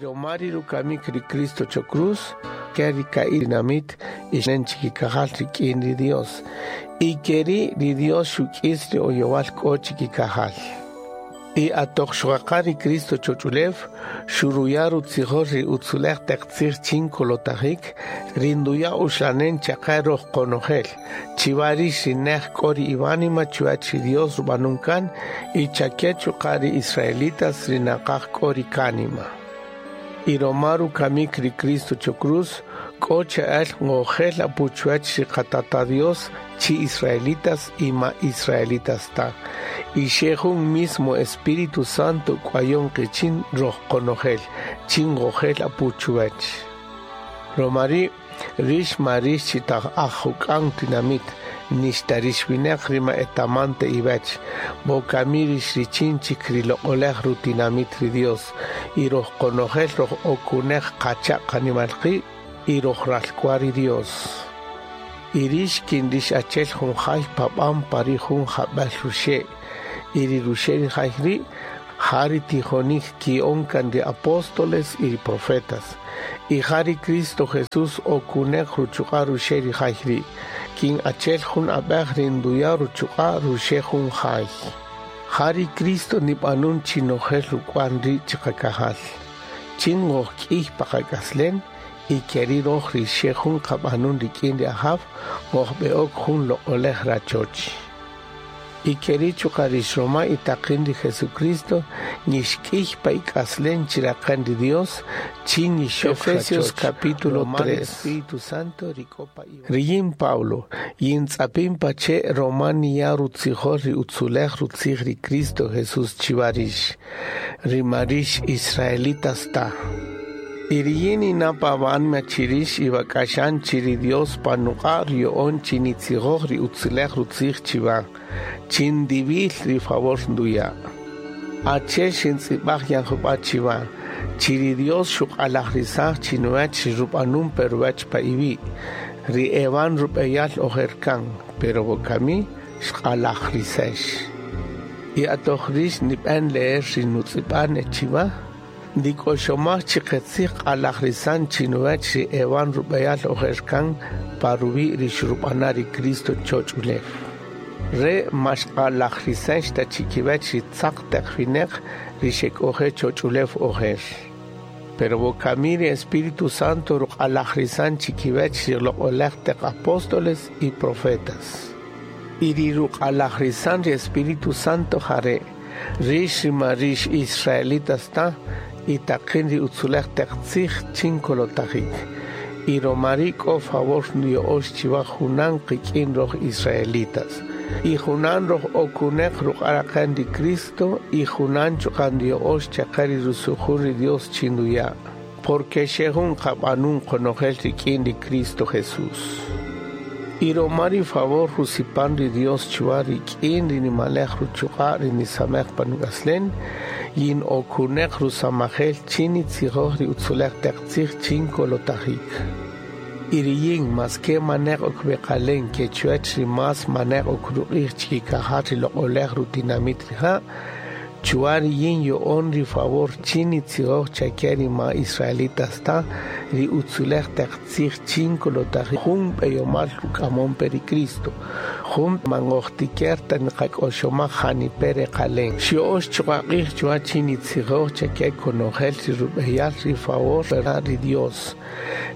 Romari rukamik ri Cristo cho cruz, ke ri ka'i dinamit ixnen chikikajal rik'in ri Dios. Y keri ri Dios xuk'is ri oyowal k'o chikikajal. Y atoq xuqaqa ri Cristo choch'ulew, xuruya rutzijol ri utzulej taq tzij chin kolotajik, ri nduya uxlanen chaqa roj qonojel. Chiwa rix ri nej k'o ri iwánima chuwach ri Dios rub'anun kan, y chake chuqa' ri israelitas ri naqaj k'o ri kánima. Y roma rukamik ri Cristo cho cruz, k'o che'el ngojel apu chuwach ri qatata Dios chi israelitas y ma israelitas ta. Y xe jun mismo Espíritu Santo k'wayon qichin roj qonojel, chin ngojel apu chuwach. Romari rix ma rix chi taj aj juk'an tinamit, nixta rix wineq ri ma etamante iwech, wokami rix richin chik ri loq'olej rutinamit ri Dios, y roj qonojel roj okunej qacha' qanimal qi', y roj ralk'wal ri Dios. Y rix kin rix achel jun jay pab'an pa ri jun jab'el ruxe', y ri ruxe' ri jay ri' ja ri tijonik ki'on kan ri apóstoles y ri profetas. Y ja ri Cristo Jesús okunej ruchuq'a' ruxe' ri jay ri', kin achel jun ab'ej ri nduya ruchuq'a' ruxe' jun jay. Ja ri Cristo nib'anun chi nojel ruk'wan ri' chiqakajal. Chin ngojk'iy pa qak'aslen, y keri roj ri xe jun qab'anun rik'in ri Ajaw, ngojb'e'ok jun loq'olej rachoch. Y keri chuqa' rix roma itaqin ri Jesucristo, nixk'iy pa ik'aslen chiraqen ri Dios, chin nixok Efesios rachoch. capítulo Roma ri 3. Espíritu Santo ri k'o pa iwa. Riyin Pablo, yin tz'apin pa che' roma niya' rutzijol ri utzulej rutzij ri Cristo Jesús chiwa rix, ri ma rix israelitas ta. Y riyin inapa wa'anma chirix iwak'axan chi ri Dios pa nuq'a' ruya'on chi nitzijoj ri utzulej rutzij chiwa, chin ndiwil ri favor nduya'. Achel xintz'ib'aj yan jub'a' chiwa, chi ri Dios xuq'alajrisaj chinuwach ri rub'anun pe ruwach pa iwi', ri ewan rub'eyal ojer kan, pero wokami xq'alajrisex. Y atoq rix nib'an leer ri nutz'ib'an chiwa, ndik'oxomaj chi qetzij q'alajrisan chinuwach ri ewan rub'eyal ojer kan pa ruwi' ri xrub'ana ri Cristo choch ulew. Re ma xq'alajrisex ta chikiwach ri tzaq taq wineq ri xek'oje' choch'ulew ojer. Pero wokami ri Espíritu Santo ruq'alajrisan chikiwach ri loq'olej taq apóstoles y profetas. Y ri ruq'alajrisan ri Espíritu Santo jare', rix ri ma rix israelitas ta, y taqin ri utzulej taq tzij chin kolotajik. Y romari k'o favor nuya'ox chiwa junan qik'in roj israelitas. Y junan roj okunej ruq'araqen ri Cristo, y junan chuqa' nuya'ox chaqa ri rusujun ri Dios chin nuya'. Porque xe jun qab'anun qonojel rik'in ri Cristo Jesús. Y romari favor rusipan ri Dios chuwa rik'in ri nimalej ruchuq'a' ri nisamej pa nuk'aslen, yin okunej rusamajel chin nitzijoj ri utzulej taq tzij chin kolotajik. Y riyin mas ke manej ok beqalen ke chuwach ri mas manej ok ruq'ij chikikajal ri loq'olej rutinamit rija', chuwa riyin yo'on ri favor chin nitzijoj chake ri ma israelitas ta, ri utzulej taq tzij chin kolotajik jun b'eyomal ruk'amon pe ri Cristo, jun mangojtiker ta niqak'oxomaj janipe reqalen. Xyo'ox chuqa' q'ij chuwa chin nitzijoj chake konojel ri rub'eyal ri favor ri Dios.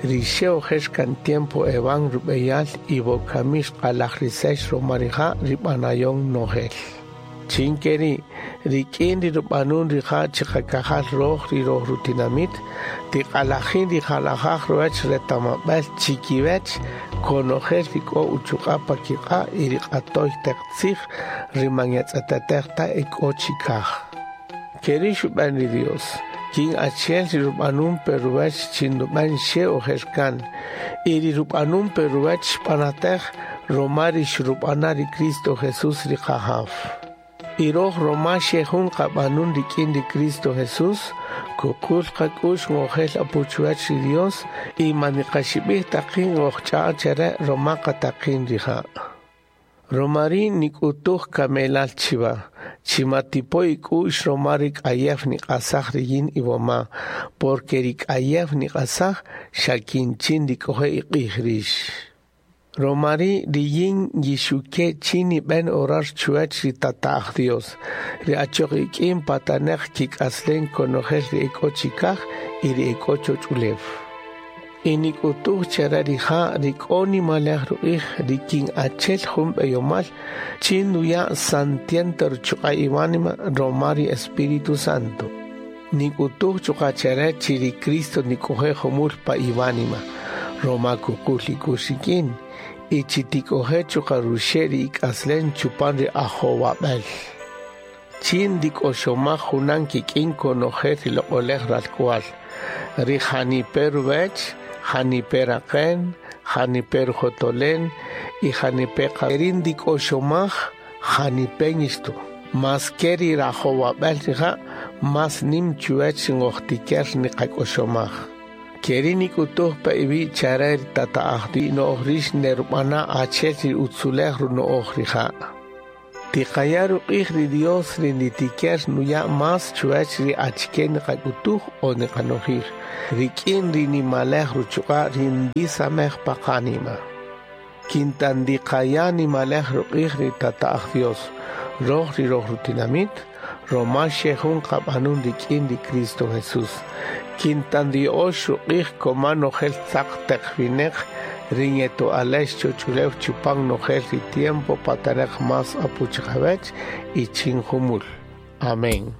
Ri xe ojer kan tiempo ewan rub'eyal y wokami xq'alajrisex roma rija' ri b'anayon nojel. Chin keri, rik'in ri rub'anun rija' chiqakajal roj ri roj rutinamit, tiq'alajin ri jalajaj ruwach retamab'al chikiwach konojel ri k'o uchuq'a' pa kiq'a' y ri q'atoy taq tzij ri man yatz'atatej ta e k'o chikaj. Keri xub'an ri Dios, kin achel ri rub'anun pe ruwach chin rub'an xe ojer kan, y ri rub'anun pe ruwach xb'anatej roma ri xrub'ana ri Cristo Jesús ri Qajaw. Y roj roma xe jun qab'anun rik'in ri Cristo Jesús, kuqul qak'u'x ngojel apu chuwach ri Dios, y man niqaxib'ij taqin ngojch'a'a chere roma qataqin rija'. Romari nik'utuj kamelal chiwa, Chi ma tipo ik'u'x roma ri k'ayew niq'asaj riyin iwoma, porque ri k'ayew niq'asaj xa kin chin ndik'oje' iq'ij rix. Roma ri' riyin yixuke chin nib'en orar chuwach ri Tata'aj Dios, ri achoq ik'in pataneq kik'aslen konojel ri ek'o chikaj y ri ek'o choch'ulew. Y nik'utuj chare rija' ri k'o nimalej ruq'ij ri kin achel jun b'eyomal chin nuya' santiento ruchuq'a' iwánima roma ri Espíritu Santo. Nik'utuj chuqa' chare chi ri Cristo nik'oje' jumul pa iwánima, roma kuqul ik'u'x rik'in, y chi tik'oje' chuqa' ruxe' ri ik'aslen chupan ri ajowab'el. Chin ndik'oxomaj junan kik'in konojel ri loq'olej ralk'wal, ri janipe ruwech, janipe raqen, janipe rujotolen y janipe qarin ndik'oxomaj janipe ñixto. Mas ke ri rajowab'el rija' mas nim chuwech ngojtiker niqak'oxomaj. Keri nik'utuj pa iwi' chare ri tata'aj no'oj rix nerub'ana' achel ri utzulej runo'oj rija'. Tiqaya' ruq'ij ri Dios ri nitiker nuya' mas chuwach ri achike niqak'utuj o niqanojij, rik'in ri nimalej ruchuq'a' ri ndisamej pa qánima. Kinta ndiqaya' nimalej ruq'ij ri Tata'aj Dios, roj ri roj rutinamit, roma xe jun qab'anun rik'in ri Cristo Jesús. Kinta ndiyo'ox ruq'ij koma nojel tzaq taq wineq ri ñeto'alex choch'ulew chupan nojel ri tiempo pataneq mas apu chiqawech y chin jumul. Amén.